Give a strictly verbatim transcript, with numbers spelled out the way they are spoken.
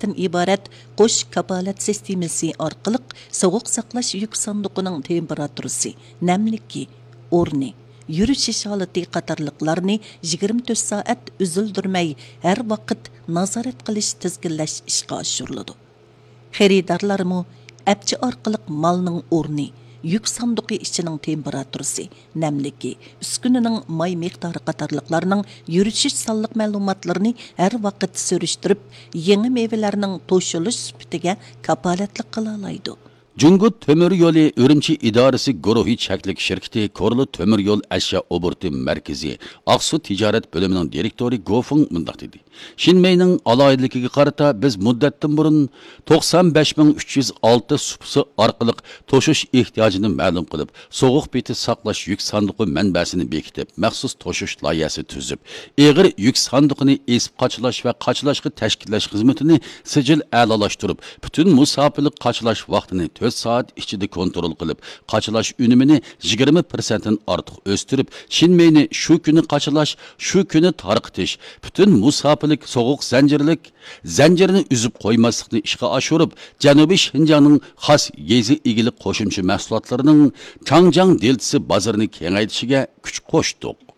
تىن ئىبارەت قوش كاپالەت سىستېمىسى ئارقىلىق سوغۇق ساقلاش يۈك ساندۇقىنىڭ تېمپېراتۇرىسى، نەملىكى، ئورنى، يۈرۈشۈش ھالىتى قاتارلىقلارنى يىگىرمە تۆت سائەت ئۈزۈلدۈرمەي ھەر ۋاقىت نازارەت قىلىش، تىزگىنلەش ئىشقا ئاشۇرۇلىدۇ. خېرىدارلارمۇ ئەپچى ئارقىلىق مالنىڭ ئورنى، يۈك ساندۇقى ئىچىنىڭ تېمپېراتۇرىسى، نەملىكى، ئۈسكۈنىنىڭ ماي مىقدارى قاتارلىقلارنىڭ يۈرۈشۈش سانلىق مەلۇماتلىرىنى ھەر ۋاقىت سۈرۈشتۈرۈپ، يېڭى مېۋىلەرنىڭ توشۇلۇش سۈپىتىگە كاپالەتلىك قىلالايدۇ. جۇڭگو تۆمۈر يولى ئۈرۈمچى ئىدارىسى گۇرۇھى چەكلىك شىركىتى كورلا تۆمۈر يول ئەشيا ئوبوروتى مەركىزى ئاقسۇ تىجارەت بۆلۈمىنىڭ دىرېكتورى گو فېڭ مۇنداق دېدى: شىنمېينىڭ ئالاھىدىلىكىگە قارىتا، بىز مۇددەتتىن بۇرۇن توقسان بەش مىڭ ئۈچ يۈز ئالتە سۇپىسى ئارقىلىق توشۇش ئېھتىياجىنى مەلۇم قىلىپ، سوغۇق پېتى ساقلاش يۈك ساندۇقى مەنبەسىنى بېكىتىپ، مەخسۇس توشۇش لايىھەسى تۈزۈپ، ئېغىر يۈك ساندۇقىنى ئېسىپ قاچىلاش ۋە قاچىلاشقا تەشكىللەش خىزمىتىنى سىجىل ئەلالاشتۇرۇپ، پۈتۈن مۇساپىلىك قاچىلاش ۋاقتىنى تۆت سائەت ئىچىدە كونترول قىلىپ، قاچىلاش ئۈنۈمىنى يىگىرمە پىرسەنتتىن ئارتۇق ئۆستۈرۈپ، شىنمېينى شۇ كۈنى قاچىلاش، شۇ كۈنى تارقىتىش، پۈتۈن مۇساپىلىك سوغۇق زەنجىرلىك زەنجىرىنى ئۈزۈپ قويماسلىقنى ئىشقا ئاشۇرۇپ، جەنۇبىي شىنجاڭنىڭ خاس يېزا ئىگىلىك قوشۇمچە مەھسۇلاتلىرىنىڭ چاڭجياڭ دېلتىسى بازىرىنى كېڭەيتىشىگە كۈچ قوشتۇق.